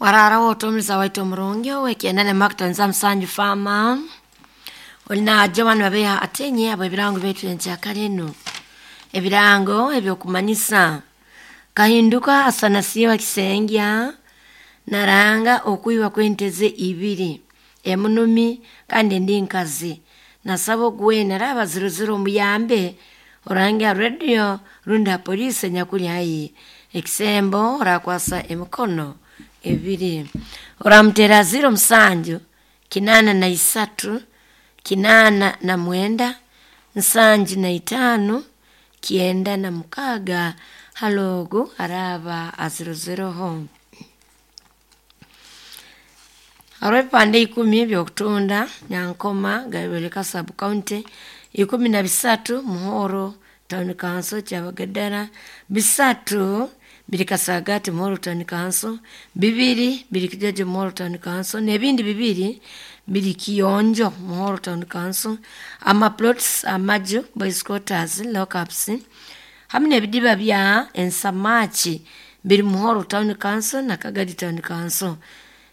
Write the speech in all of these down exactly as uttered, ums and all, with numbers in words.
Wararaho otumiza waitu omurungi owekyenda makutonza musanju fama olina Joan Babeha atenye abo ebirango byetu enkyakare eno ebirango ebyokumanyisa kahinduka asanasiwa kisengya naranga okwiba kw'ente ze ibiri emunumi kandi endi nkazi nasaba oguwena araba zirozire omuyambe orange ha radio rundi ha poliisi enyakuli haihi ekisembo orakwasa emikono ebiri oramuteera ziro musanju kinaana na isatu kinaana na mwenda nsanju na itaano kyenda na mukaaga hali ogu araaba azirozereho. Haroho ebipande ikumi eby'okutunda Nyankoma Gayoreka sub county, ikumi na bisatu Muhoro town council Kyabagadara, bisatu biri Kasagaati Muhoro town council, bibiri biri Kijojo Muhoro town council n'ebindi bibiri biri Kiyonjo Muhoro town council, ama plots amaju, boys quarters, lockups hamu n'ebidiba bya ensamaaki biri Muhoro town council na Kagadi town council.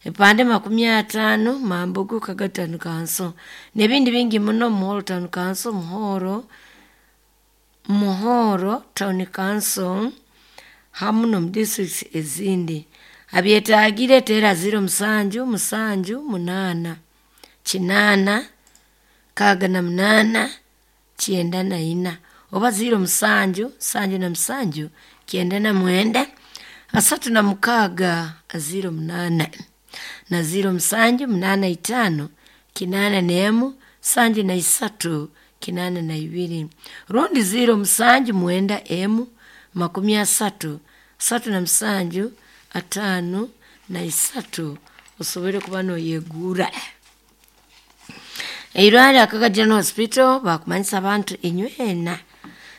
Ebipande makumi ataano Mambugu Kagadi town council n'ebindi bingi muno Muhoro town council, Muhoro, Muhoro town council hamu n'omu districts ezindi. Abyetaagire teera ziro musanju musanju munaana kinaana nkaaga na munaana kyenda na ina oba ziro musanju nsanju na musanju kyenda na mwenda asatu na mukaaga ziro munaana na ziro musanju munaana itaano kinaana n'emu nsanju na isatu kinaana na ibiri rundi ziro musanju mwenda emu makumi asatu asatu na musanju ataano na isatu osobole kuba nooyegura. Eirwarro Akaga General Hospital baakumanyisa abantu inywena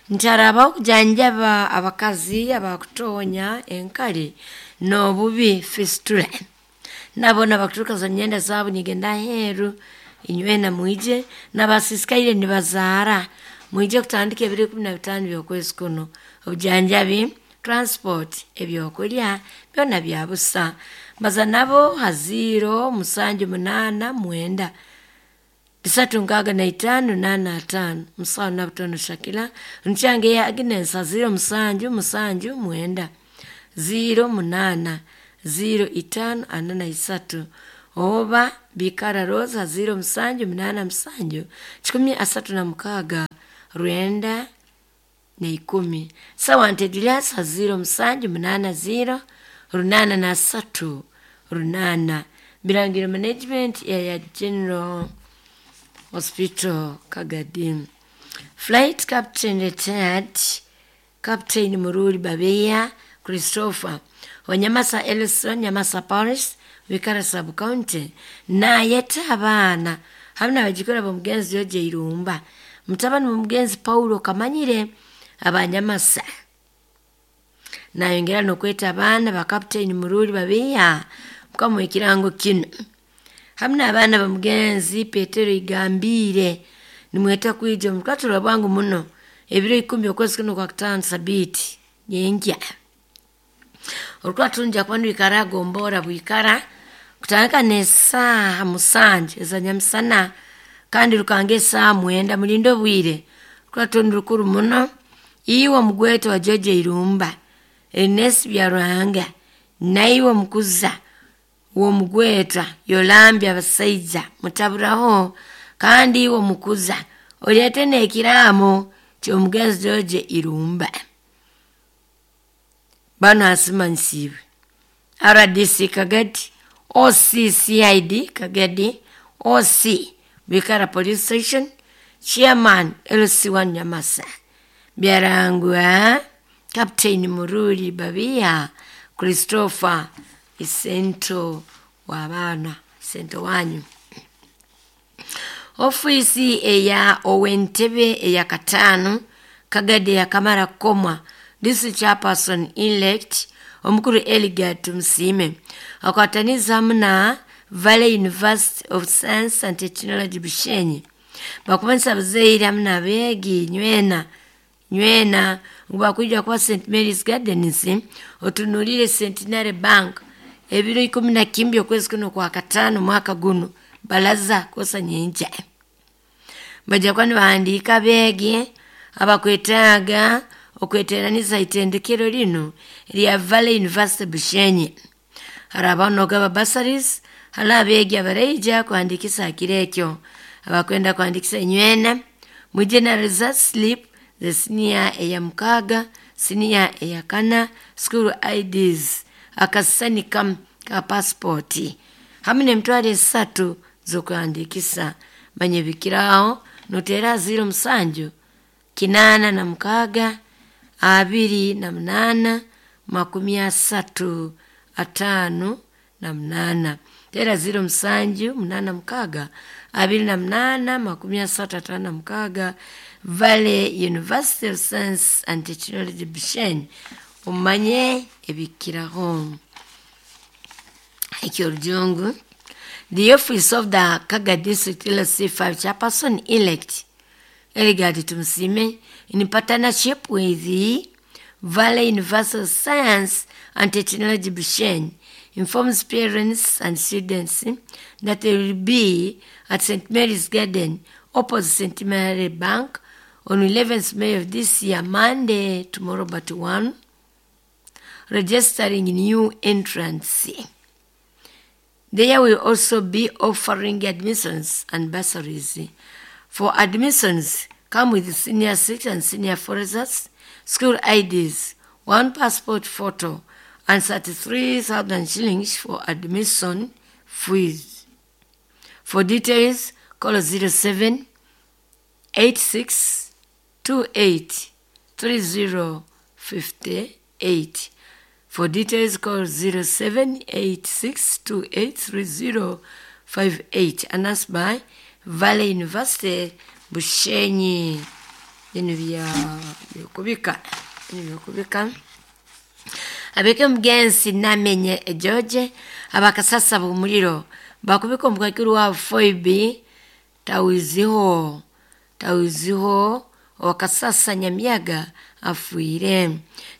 nti harabaho okujanjaba abakazi abakutoonya enkari n'obubi fistula. Nabo nabakuturuka za myenda zaabo nigenda aheeru inywena mwije n'abasiisikaire nibazaara mwije kutandika ebiro ikumi na bitaano by'okwezi kunu. Obujanjabi, transport, ebyokulya byona bya busa. Mbaza nabo ha ziro musanju munaana mwenda bisatu nkaaga na itaano naana ataano musawo Nabutono Shakira nkyange eya Agnes ha ziro musanju musanju mwenda ziro munaana ziro itaano ana na isatu oba Bikara Rose ha ziro musanju munaana musanju kikumi asatu na mukaaga rwenda na ikumi. Sawante Julius ha ziro musanju munaana ziro runaana na asatu runaana. Birangiro management eya General Hospital Kagadi. Flight Captain retired Captain Mururi Babeya Christopher Wanyamasa Ellison Nyamasa Parish Wikara sub county naayeta abaana hamu n'abajukuru b'omugenzi George Irumba mutabani w'omugenzi Paulo Kamanyire abanyamasa nayongera n'okweta abaana ba Captain Mururi Babeya mukamuha ekirango kinu hamu n'abaana b'omugenzi Petero Igambire nimweta kwija omu rukaturo bwangu muno ebiro ikumi okwezi kuno kwa kutaano sabiiti nyenkya. Orukurato nija kuba nirwikara gombora bwikara kutandika n'esaaha musanju eza nyamusana kandi rukanga esaaha mwenda mulinde obwire. Orukurato nirukuru muno iwe omugwetwa wa George Irumba, Ernest Byaruhanga naiwe omukuza w'omugwetwa Yolambya Abasaija mutaburaho kandi iwe omukuza oleete n'ekiraamo ky'omugenzi George Irumba. Banu asimanyisiibwe R D C Kagadi, O C C I D Kagadi, O C Bikara Police Station, Chairman L C one Nyamasa, Byarangwa Captain Mururi Babiya Christopher Isento w'abaana Isento wanyu. Ofiisi eya Owentebe eya kataano Kagadi yakamara kukomwa District Chairperson elect omukuru Eligad Tumusiime akwataniza hamu na Valley University of Science and Technology Bushenyi bakumanyisa abazaire hamu n'abeegi nywena nywena ngu bakwija kuba Saint Mary's Gardens otunuulire Centenary Bank Ebiro ikumi na kimbi okwezi kuno kwa katano mwaka guno balaza kosa nyenkya. Bajja kuba nibahandiika abeegi abakwetaaga okweteraniza itendekero linu lya Valley University Bushenyi. Harabaho n'okugaba bursaries hali abeegi abaraija kuhandiikisa ha kiro ekyo. Abakwenda kuhandiikisa inywena mwije na result slip ze siniya eya mukaaga, siniya eya kana, school I Ds, akasisani kamu ka pasipoti hamu n'emitwaro esatu z'okuhandiikisa. Manya ebikiraho noteera ziro musanju kinaana na mukaaga abiri na munaana makumi asatu ataano na munaana. Teera ziro musanju munaana mukaaga abiri na munaana makumi asatu ataano na mukaaga. Valley University of Science and Technology Bushenyi, omanye ebikiraho. Eky'orujungu, the office of the Kaga District L C five chairperson elect Eligard Tumusiime in partnership with the Valley University of Science and Technology Bushenyi informs parents and students that they will be at Saint Mary's Garden opposite Saint Mary Bank on eleventh May of this year, Monday, tomorrow but one, registering new entrants. There will also be offering admissions and bursaries. For admissions, come with senior six and senior four results, school I Ds, one passport photo, and thirty-three thousand shillings for admission fees. For details, call zero seven eight six two eight three zero five eight. For details, call zero seven eight six two eight three zero five eight. Announced by Valley University, Bushenyi. Bino bya byokubika. Bino byokubika. Abeke mugenzi namenye George abakasasa bumuliro bakubika omukakiri wa Foibi tawiziho tawiziho wakasasa Nyamiyaga afuire.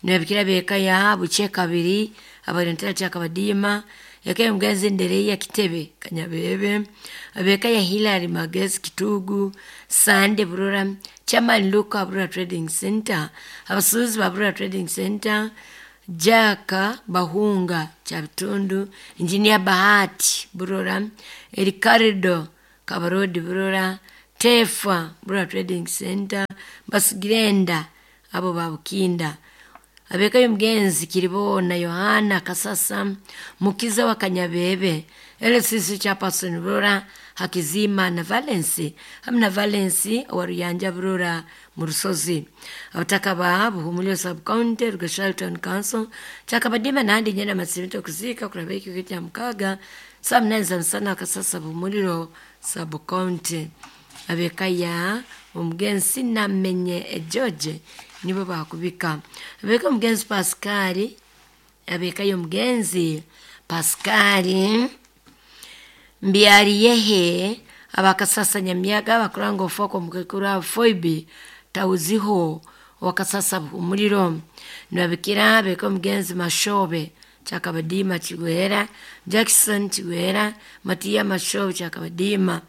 Nabikira beka ya buche kabiri abarentera kyakabadima yake mugenzi Ndereya Kitebe Kanyabebe abeka ya Hilary Magezi Kitugu Sande Burora Chairman Luka Burora Trading Center abasuuzi ba Burora Trading Center Jaka Bahunga Chabitundu Engineer Bahati Burora Ericardo Kabarodi Burora Tefa Burora Trading Center Basigirenda abo babukinda abeka y'omugenzi Kiribona Yohana Kasasa Mukiza wa Kanyabebe L C C chairperson Burora Hakizima na Valence hamwe na Valence wa Ruyanja Burora mu Rusozi abataka ba Buhumuliro sub county Rugashal Town Council chakabadima nandi nyena masimito kuzika kuraba ekyo kya mukaga saa munani za musana Kasasa Buhumuliro sub county abeka ya omugenzi Namenye George nibo bakubika abeka omugenzi Pascali abeka y'omugenzi Pascali Mbyariyehe abakasasa Nyamiyaga bakuranga ofoko mukekura Foibi tauziho wakasasa umuliro nabikira abeka omugenzi Mashobe Chakabadima Chigwera Jackson Chigwera Matia Mashobe Chakabadima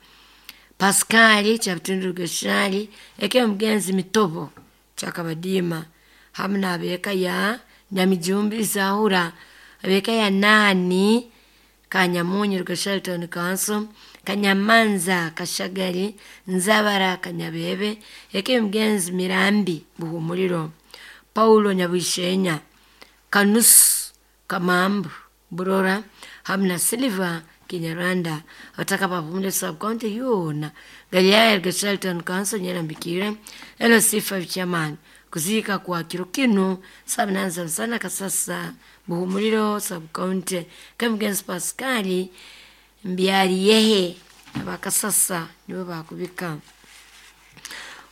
Pascali Chabitundu Geshali eke omugenzi Mitobo Chakabadima hamwe n'abeka ya Nyamijumbi Zahura abeka ya Nani Kanyamunyu Rugashali Town Council Kanyamanza Kashagari Nzabara Kanyabebe eke omugenzi Mirambi Buhumuliro Paulo Nyabishenya Kanusu Kamambu Burora hamwe na Silver Kinyarwanda abataka ba sub county yona Galilaya Rugashali Town Council Nyerambikire L C five chairman kuzika kwa kiro kino saa munani za musana Kasasa Buhumuliro sub county Kamugenzi Pascali Mbyariyehe abakasasa nibo bakubika.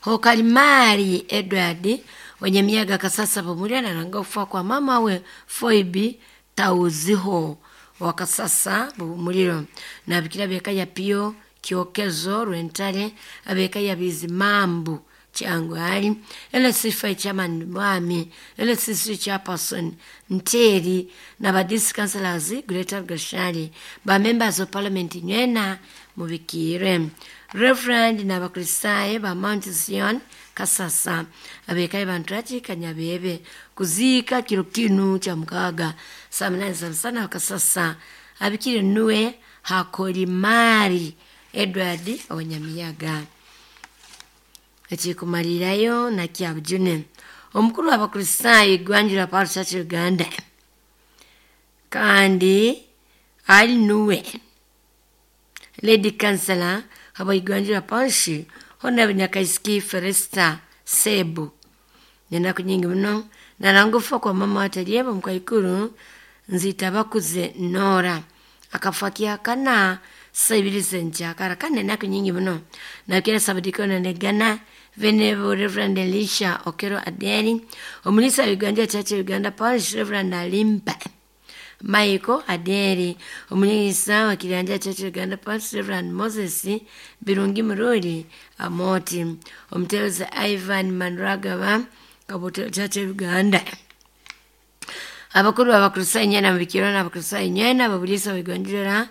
Hokalimari Edward Wanyamiyaga Kasasa Buhumuliro aranga okufa kwa mama we Foibi Tauziho wakasasa Buhumuliro nabikira beka ya Pio Kyokezo Rwentare abeka ya Bizimambu Kyangwali, L C five chairman Mwami, L C three chairperson Nteri na ba district councillors Greater Gashari, ba members of parliament nywena mubikire. Reverend na bakristaye ba Mount Zion Kasasa abekaye bantu ati Kanyabebe kuzika kiro kinu cha mukaga saa munane za msana Kasasa abikire nuwe Hakolimari Edward Owanyamiyaga. Ekikumalirayo na kyabujune omukuru w'abakristayo Igwanjira Parish Church Uganda kandi ali nuwe Lady Councillor haba Igwanjira Parish Honorable Nyakaisiki Felista Sebu nenaku nyingi muno narangufa kwa mama watalieba mkaikuru nzita bakuze Nora akafa kiakana sabiri senchakara kane naku nyingi muno nakira sabadiko na negana Venerable Reverend Elisha Okero Adeni omulisa Uganda Church Uganda Parish Reverend Alimpa Michael Aderi omulisa wa Kiranja Church Uganda Parish Reverend Moses Birungi Mururi Amoti omutebezi Ivan Manragaba Kabuto Church Uganda abakuru abakristayo nyena mubikiro n'abakristayo nyena babulisa Uganda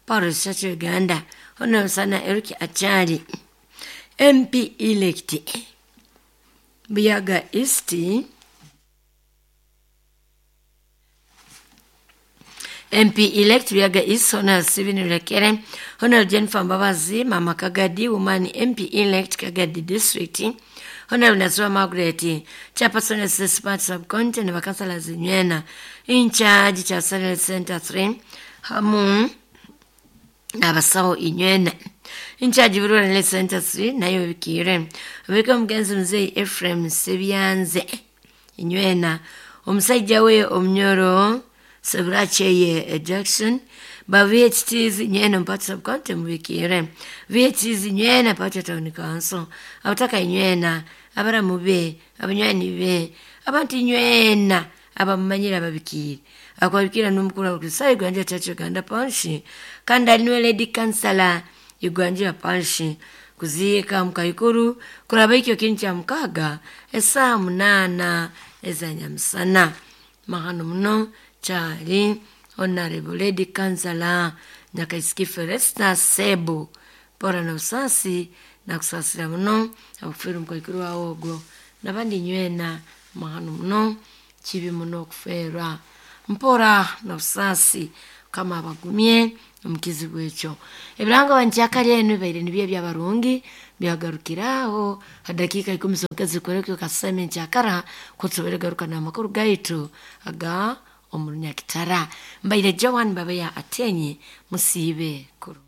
Parish Church Uganda Honorable sana Eric Achari M P elect Buyaga East M P elect Buyaga East Honorable Stephen Rekere Honorable Jennifer Mbabazi Mama Kagadi woman M P elect Kagadi District Honorable Nazwa Margaret Chairperson S S Sub-County na bakansala zinywena in charge cha Sanel Center three hamu abasawo inywena in charge Rural Center three nayo bikire abeka mugenzi mzee Ephraim Sebyanze inywena omusajja we omnyoro Sebiracheye Jackson ba V H Ts nywena mpata sub-county mubikire V H Ts nywena pata town council abataka nywena abaramu be abanywani be abantu nywena abamanyira babikire akwabikira n'umukuru wa Kristo Uganda Church Uganda Parish kandi ali niwe Lady Councillor Uganda Parish kuziika mkaikuru kuraba ikyo kintu kya mukaga esaa munana ezanyamusana mahano muno kyali Honorable Lady Councillor Nyakaisiki Felista Sebu pora na usasi na kusasira muno akufiira omukaikuru wawe ogwo nabandi nywena mahano muno kibi muno okuferwa mpora na busasi kama abagumye omukizibu ekyo ebirango bankyakali enu bibaire nibyo ebyabarungi byagarukiraho hadakiika ikumi zonka zikorekyo kaseme nkyakara kusobora garuka n'amakuru gaitu aga omurunyakitara mbaire Joan Babeya Atenyi musiibe kuru.